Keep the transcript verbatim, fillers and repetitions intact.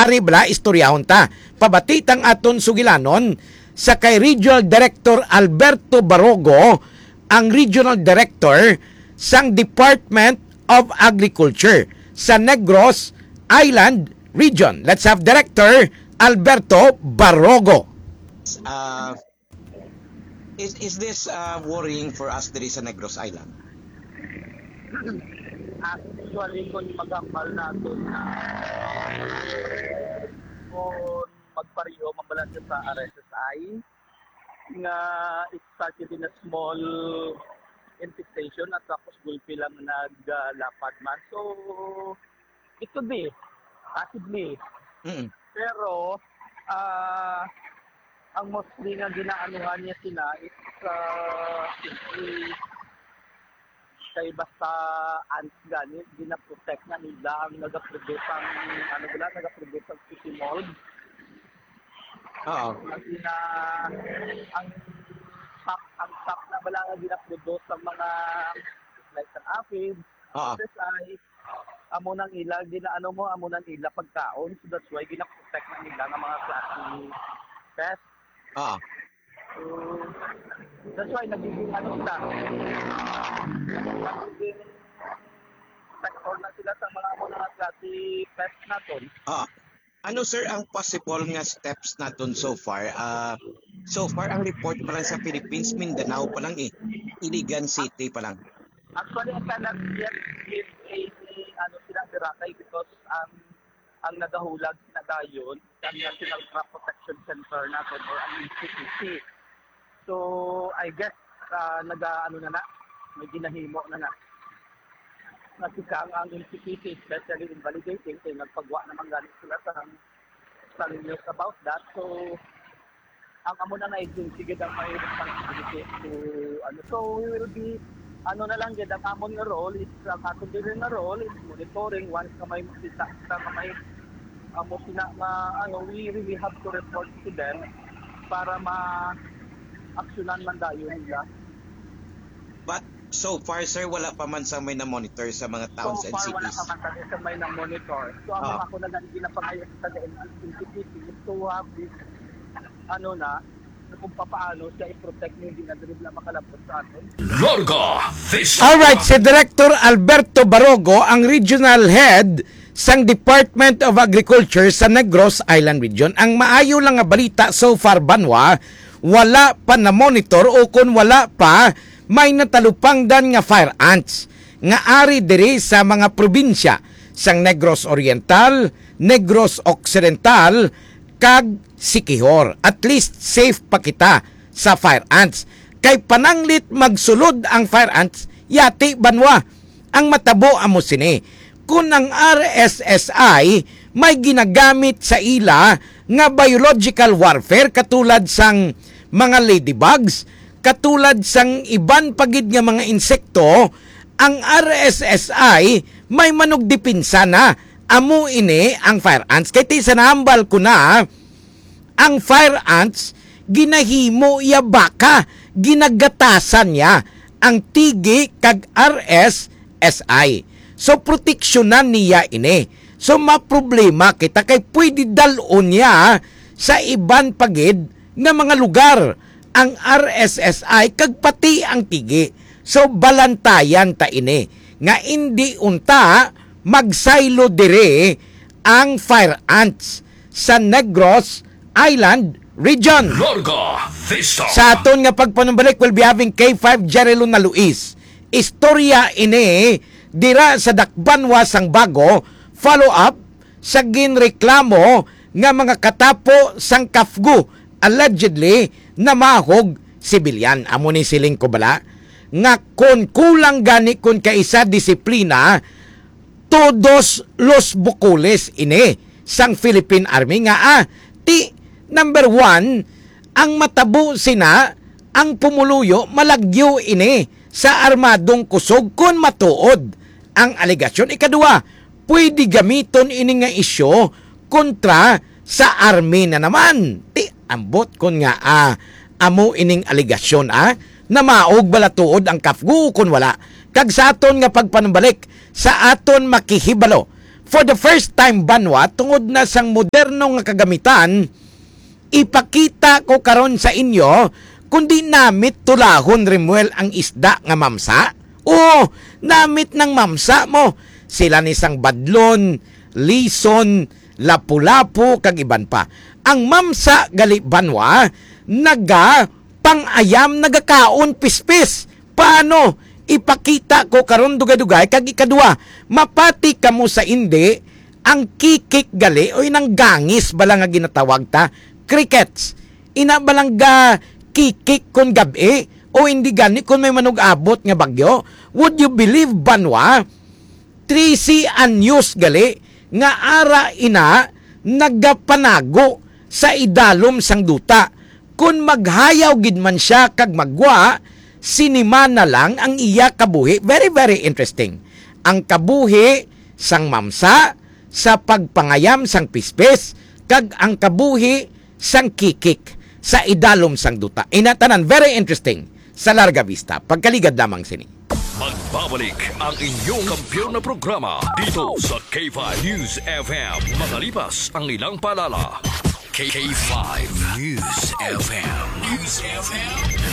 Ari bala, istoryahon ta. Pabati tang aton sugilanon sa kay Regional Director Alberto Barogo, ang Regional Director sang Department of Agriculture sa Negros Island Region. Let's have Director Alberto Barogo. Uh, is, is this uh, worrying for us diri sa Negros Island? Actually, kung maghambal naton na kung magpareho man bala siya sa R S S I, nga it started in a small infestation at tapos gulpi lang naglapad man. So, it could be, possibly. Mm. Pero, ah, ang mostly nga ginaanuhan niya sila is, ah, simply kay basta ants gani, ginaprotect na nila ang nagaproduce ang, ano bala, nagaproduce ang city mold. Oo. Ang ina-, ang sap, ang sap na bala nga ginaproduce sa mga, like, sa aphids, Oo. Sa amo nang ila, ginaano mo, amo nang ila pagkaon. So that's why ginaprotect na nila nga mga klase pest. Oo. So, that's why nagiging ano sila. Nagiging protector na sila sa mga amo nga klase pest naton. Oo. Ano, sir, ang possible nga steps naton so far? Ah, so far, ang report pa lang sa Philippines, Mindanao pa lang eh. Iligan City pa lang. Actually, I cannot yet give any, ano, sila, Boracay because ang, ang nagahulag na dayon, ang National Crop Protection Center naton or ang N C P C. So, I guess, ah, naga-, ano na na, may ginahimo na na. Kasi kang ang N C P C, especially in validating, kay nagpagwa naman gani sila sa, sa news about that. So, ang amo na na agency gid ang may responsibility to, ano. So, we will be, ano na lang gid, ang amon nga role is, ang aton diri nga role is monitoring once nga may makita sa nga may, amo sina nga, ano, we really have to report to them para ma-aksyonan man dayon nila. But so far, sir, wala pa man sa may na-monitor sa mga towns So and far, wala cities. pa man kami sa may na-monitor. So, ang Ah. ako na lang ginapangayo sa N C P C is to have this, ano na, kung papaano siya i-protect nga hindi na diri na makalabot sa aton. Larga Vista. Alright, si Director Alberto Barogo, ang regional head sang Department of Agriculture sa Negros Island Region. Ang maayo lang nga balita so far, banwa, wala pa na-monitor o kon wala pa may natalupangdan nga fire ants nga ari diri sa mga probinsya sang Negros Oriental, Negros Occidental, kag Siquijor. At least safe pa kita sa fire ants. Kay pananglit magsulod ang fire ants, yati banwa ang matabo amo sini. Kun ang R S S I may ginagamit sa ila nga biological warfare katulad sang mga ladybugs, katulad sang iban pa gid nga mga insekto, ang R S S I may manugdepensa na. Amo ini ang fire ants. Kay ti sa nahambal ko na, ang fire ants, ginahimo iya baka, ginagatasan niya ang tigi kag R S S I. So, proteksyonan niya ini. So, maproblema kita kay pwede dal-on niya sa iban pa gid nga mga lugar ang R S S I kag pati ang tigi. So, balantayan ta ini nga indi unta magsaylo diri ang fire ants sa Negros Island Region. Larga Vista. Sa aton nga pagpanumbalik, we'll be having K five Jerry Luna Luis. Istorya ini dira sa Dakbanwa sang Bago, follow up sa ginreklamo nga mga katapo sang kafgu allegedly namahog sibilyan. Amo ni siling ko bala nga kon kulang gani kon kaisa disiplina, todos los bukules ini sang Philippine Army nga, ah, ti, number one, ang matabo sina ang pumuluyo malagyo ini sa armadong kusog kon matuod ang alegasyon. Ikaduha, pwede gamiton ini nga isyu kontra sa army na naman. Ti ambot kon nga, ah, amo ining alegasyon, ah, namaog bala tuod ang kafgu kon wala. Kag sa aton nga pagpanumbalik sa aton makihibalo, for the first time, banwa, tungod na sang moderno nga kagamitan, ipakita ko karon sa inyo, kundi namit tulahon, Rimuel, ang isda nga mamsa. Oo, namit ng mamsa mo. Sila ni sang badlon, lison, lapu-lapu, kag iban pa. Ang mamsa gali, banwa, naga pang-ayam, nagakaon pispis. Paano? Ipakita ko karon dugay-dugay. Kag ikadua, mapati kamo sa indi, ang kikik gali, o inang gangis bala nga ginatawag ta, crickets. Ina bala nga kikik kon gab-i, o hindi gani kon may manug-abot nga bagyo? Would you believe, banwa? Trisi anyos gali nga ara ina nagapanago sa idalom sang duta. Kon maghayaw gid man sia kag magwa, sinimana lang ang iya kabuhi. Very, very interesting. Ang kabuhi sang mamsa, sa pagpangayam sang pispis, kag ang kabuhi sang kikik sa idalom sang duta. Ina tanan, very interesting. Sa Larga Vista, pagkaligad lamang sini. Magbabalik ang inyong kampiyon na programa dito sa K five News F M. Makalipas ang ilang paalala. K five News F M. News F M.